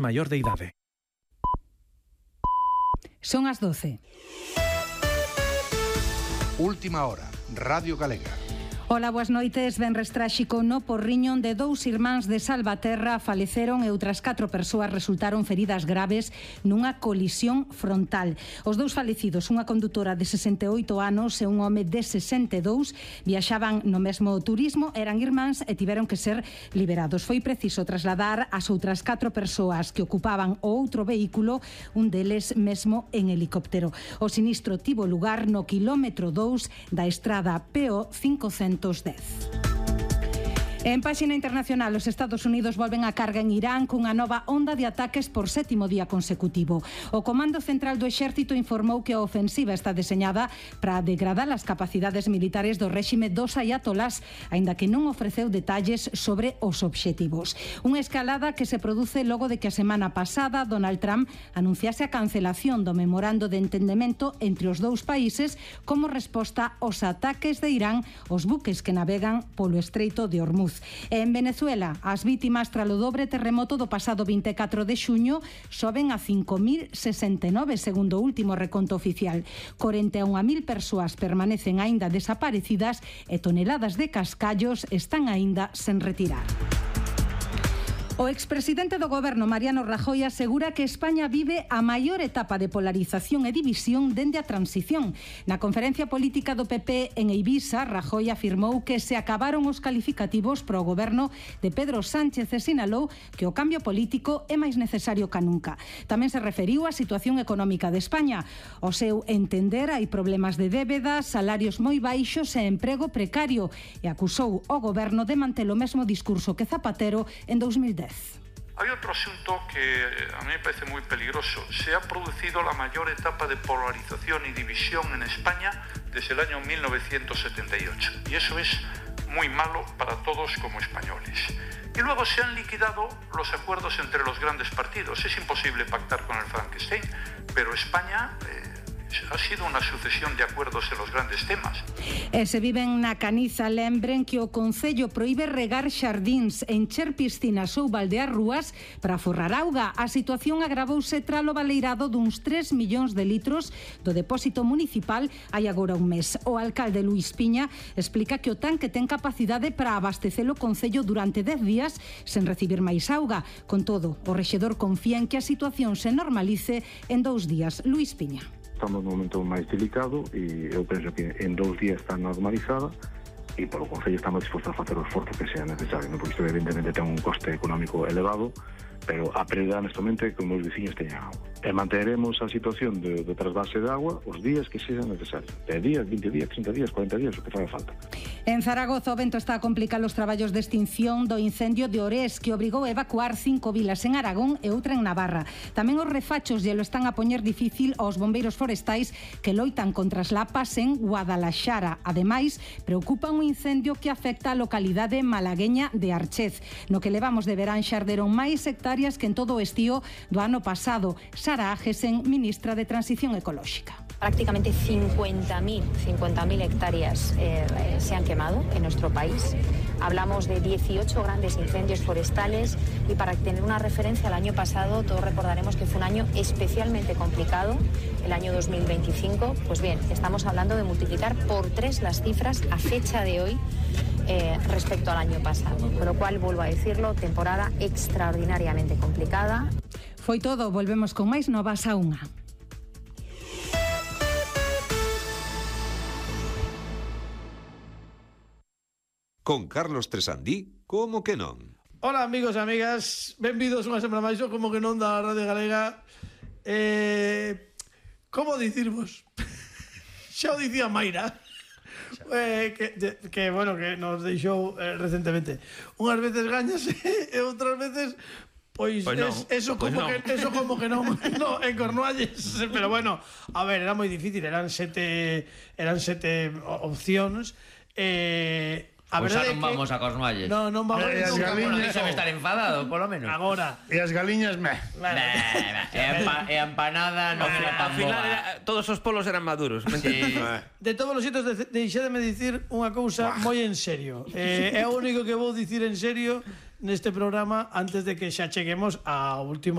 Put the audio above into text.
mayor de idade. Son as 12. Última hora, Radio Galega. Ola, boas noites. Venres tráxico no Porriño, onde 2 irmáns de Salvaterra faleceron e outras 4 persoas resultaron feridas graves nunha colisión frontal. Os 2 falecidos, unha condutora de 68 anos e un home de 62, viaxaban no mesmo turismo, eran irmáns e tiveron que ser liberados. Foi preciso trasladar as outras 4 persoas que ocupaban o outro vehículo, un deles mesmo en helicóptero. O sinistro tivo lugar no quilómetro 2 da estrada PO 510. En páxina internacional, os Estados Unidos volven a carga en Irán cunha nova onda de ataques por 7º día consecutivo. O Comando Central do Exército informou que a ofensiva está deseñada para degradar as capacidades militares do réxime dos ayatolás, aínda que non ofreceu detalles sobre os obxectivos. Unha escalada que se produce logo de que a semana pasada Donald Trump anunciase a cancelación do memorando de entendemento entre os dous países como resposta aos ataques de Irán aos buques que navegan polo Estreito de Hormuz. En Venezuela, as vítimas tralo dobre terremoto do pasado 24 de xuño soben a 5.069, segundo o último reconto oficial. 41.000 persoas permanecen aínda desaparecidas e toneladas de cascallos están aínda sen retirar. O expresidente do Goberno, Mariano Rajoy, asegura que España vive a maior etapa de polarización e división dende a transición. Na conferencia política do PP en Eivisa, Rajoy afirmou que se acabaron os calificativos para o Goberno de Pedro Sánchez e sinalou que o cambio político é máis necesario que nunca. Tamén se referiu á situación económica de España. O seu entender, hai problemas de débeda, salarios moi baixos e emprego precario, e acusou o Goberno de manter o mesmo discurso que Zapatero en 2010. Hay otro asunto que a mí me parece muy peligroso. Se ha producido la mayor etapa de polarización y división en España desde el año 1978. Y eso es muy malo para todos como españoles. Y luego se han liquidado los acuerdos entre los grandes partidos. Es imposible pactar con el Frankenstein, pero España ha sido unha sucesión de acuerdos en los grandes temas. E se viven na Caniza, lembren que o Concello proíbe regar xardíns, encher piscinas ou baldear rúas para forrar auga. A situación agravouse tralo baleirado duns 3 millóns de litros do depósito municipal hai agora un mes. O alcalde Luís Piña explica que o tanque ten capacidade para abastecer o Concello durante 10 días sen recibir máis auga. Con todo, o rexedor confía en que a situación se normalice en 2 días. Luís Piña. Estamos num momento máis delicado e eu penso que en 2 días está normalizada e polo Concello estamos dispostos a facer o esforzo que sea necesario, non? Porque isto evidentemente ten un coste económico elevado, pero a prioridade neste momento é que os meus veciños teñan agua. E manteremos a situación de trasvase de agua os días que sean necesarios. 10 días, 20 días, 30 días, 40 días, o que faga falta. En Zaragoza o vento está a complicar os traballos de extinción do incendio de Orés, que obrigou a evacuar 5 vilas en Aragón e outra en Navarra. Tamén os refachos lle lo están a poñer difícil aos bombeiros forestais que loitan contra as lapas en Guadalaxara. Ademais, preocupa un incendio que afecta a localidade malagueña de Archez. No que levamos de verán xarderon máis hectáreas que en todo o estío do ano pasado. Sara Agesen, ministra de Transición Ecolóxica. Prácticamente 50.000 hectáreas se han quemado en nuestro país. Hablamos de 18 grandes incendios forestales y para tener una referencia al año pasado, todos recordaremos que fue un año especialmente complicado, el año 2025. Pues bien, estamos hablando de multiplicar por 3 las cifras a fecha de hoy respecto al año pasado. Con lo cual, vuelvo a decirlo, temporada extraordinariamente complicada. Foi todo, volvemos con máis novas a 1. Con Carlos Tresandí, como que non? Hola amigos e amigas, benvidos unha semana máis, como que non da Radio Galega. Como dicirvos? Xa o dicía Mayra, que bueno, que nos deixou recentemente. Unhas veces gañas e outras veces pois no, eso como no. Eso como que non no, en Cornualles, pero bueno, a ver, era moi difícil, eran sete opcións. A pois xa non vamos a Cornualles. Non vamos. E as galiñas debe estar enfadado, polo menos. Agora. E as galiñas, E a empanada non era tan boa. Todos os polos eran maduros. Sí. De todos os xeitos, deixademe dicir unha cousa moi en serio. É o único que vou dicir en serio neste programa antes de que xa cheguemos ao último